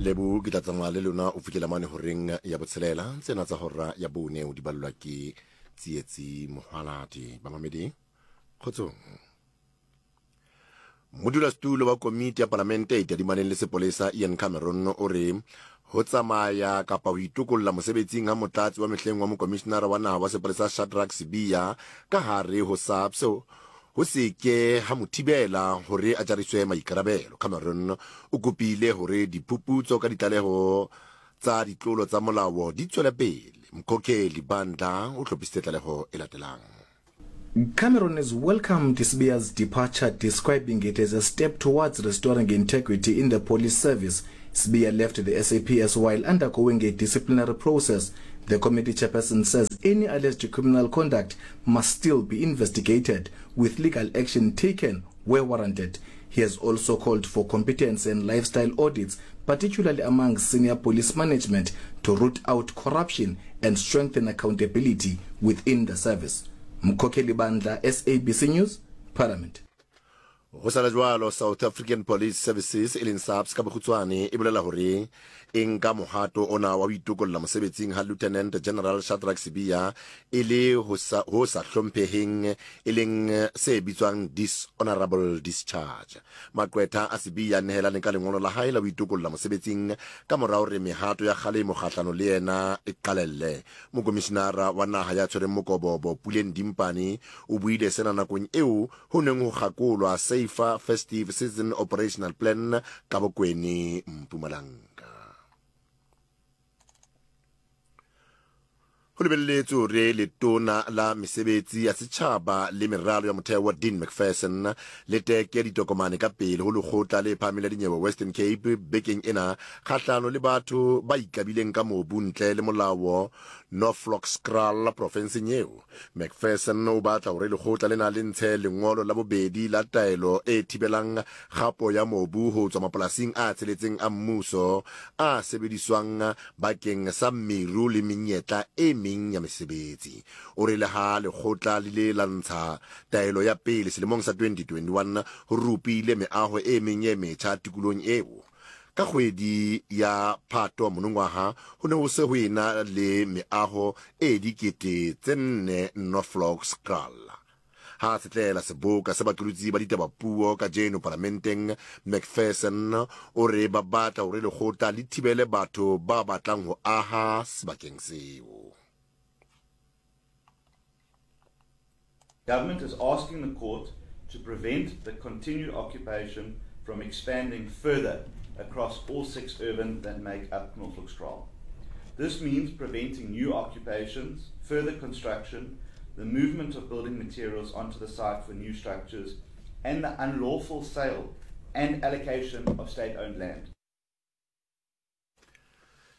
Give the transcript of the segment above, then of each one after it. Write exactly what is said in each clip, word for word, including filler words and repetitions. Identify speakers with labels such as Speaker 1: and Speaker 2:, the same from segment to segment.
Speaker 1: Lebo ke tla tsamaya le lona o fihlela mane horeng ya botshelela. Tsena tsa hora ya bone o di ballwa ke Tsietsi Mohwaladi. Bamamedi, kgotsong. Modulasetulo wa komiti ya palamente e tadimaneng le sepolesa Ian Cameron o re ho tsamaya kapa ho itokolla mosebetsing ha motlatsi wa mehleng wa mokomishinara wa naha wa sepolesa Shadrack Sibiya ka hare ho SAPS ho se ke ha mo thibela hore a jariswe maikarabelo. Cameron o kopile hore diphuputso ka ditlaleho tsa ditlolo tsa molao di tswele pele. Mkhokheli Bandla o hlophisitse tlaleho e latelang.
Speaker 2: Cameron has welcomed Sibiya's departure, describing it as a step towards restoring integrity in the police service. Sibiya left the S A P S while undergoing a disciplinary process. The committee chairperson says any alleged criminal conduct must still be investigated, with legal action taken where warranted. He has also called for competence and lifestyle audits, particularly among senior police management, to root out corruption and strengthen accountability within the service. Mkhokheli Bandla, S A B C News, Parliament.
Speaker 1: Ho sala jwalo, South African Police Services e leng SAPS ka bokgutshwane e bolela hore e nka mohato ona wa ho itokolla mosebetsing ha Lieutenant General Shadrack Sibiya e le ho sa, ho sa hlompheheng e leng se bitswang dishonorable discharge. Maqwetha a Sibiya nehelane ka lengolo la hae la ho itokolla mosebetsing ka mora hore mehato ya kgalemo kgahlano le yena e qalelle. Mokomishinara wa naha ya tshwereng mokobobo Puleng Dimpane o buile sena nakong eo ho neng ho kgakolwa Safer Festive Season Operational Plan ka Bokweni Mpumalanga. Ho lebelletswe hore letona la mesebetsi ya setjhaba le meralo ya motheo Dean Macpherson le teke ditokomane ka pele ho lekgotla le phahameng la dinyewe Western Cape bekeng ena kgahlano le batho ba ikabileng ka mobu ntle le molao Norfolkskraal profenseng eo. Macpherson o batla hore lekgotla lena le ntshe lengolo la bobedi la taelo e thibelang kgapo ya mobu ho tswa mapolasing a tsheletseng a mmuso a sebediswang bakeng sa meru le menyetla e meng ya mesebetsi. O re le ha lekgotla le ile la ntsha taelo ya pele selemong sa twenty twenty-one ho rupile meaho e meng e metjha tikolong eo. Ka kgwedi ya Phato monongwaha ho ne ho se ho ena le meaho e dikete tse nne Norfolkskraal. Ha setlela seboka se baqolotsi ba ditaba puo kajeno parlamenteng, Macpherson o re ba batla hore lekgotla le thibele batho ba batlang ho aha sebakeng seo.
Speaker 3: Government is asking the court to prevent the continued occupation from expanding further across all six urban that make up Norfolkskraal. This means preventing new occupations, further construction, the movement of building materials onto the site for new structures, and the unlawful sale and allocation of state-owned land.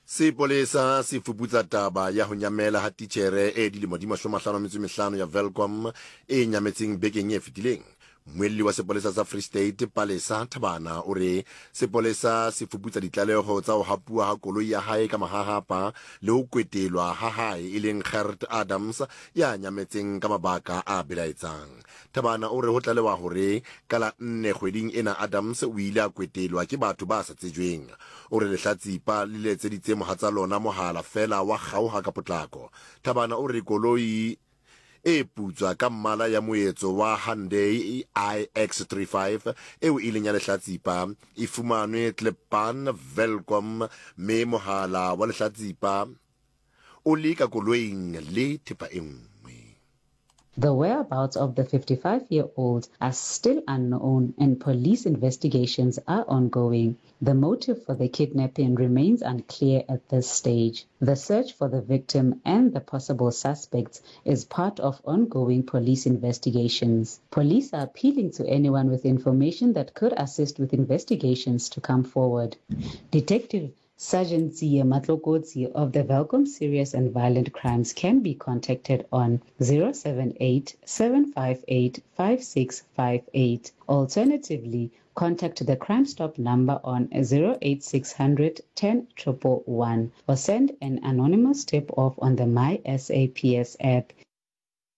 Speaker 1: Sepolesa se fuputsa taba ya ho nyamela ha titjhere e dilemo di mashome a mahlano a metso e mehlano ya Welkom e nyametseng bekeng e fetileng. Mmuelli wa sepolesa sa Free State Palesa Thabana o re sepolesa se fuputsa ditlaleho tsa ho hapuwa ha koloi ya hae ka mahahapa le ho kwetelwa ha hae e leng Gert Adams ya nyametseng ka mabaka a belaetsang. Thabana o re ho tlalewa hore ka la nne kgweding ena Adams o ile a kwetelwa ke batho ba sa tsejweng. O re lehlatsipa le letseditse mohatsa lona mohala fela wa kgaoha ka potlako. Thabana o re koloi e putswa ka mmala ya moetso wa Hyundai i X thirty-five eo e leng ya lehlatsipa e fumanwe Tlepan Welkom mme mohala wa lehlatsipa o le ka koloing le thepa e nngwe.
Speaker 4: The whereabouts of the fifty-five-year-old are still unknown and police investigations are ongoing. The motive for the kidnapping remains unclear at this stage. The search for the victim and the possible suspects is part of ongoing police investigations. Police are appealing to anyone with information that could assist with investigations to come forward. Detective Sergeant Zia Matlokotsi of the Welkom Serious and Violent Crimes can be contacted on zero seven eight, seven five eight, five six five eight. Alternatively, contact the Crime Stop number on zero eight six hundred ten triple one or send an anonymous tip-off on the My S A P S app.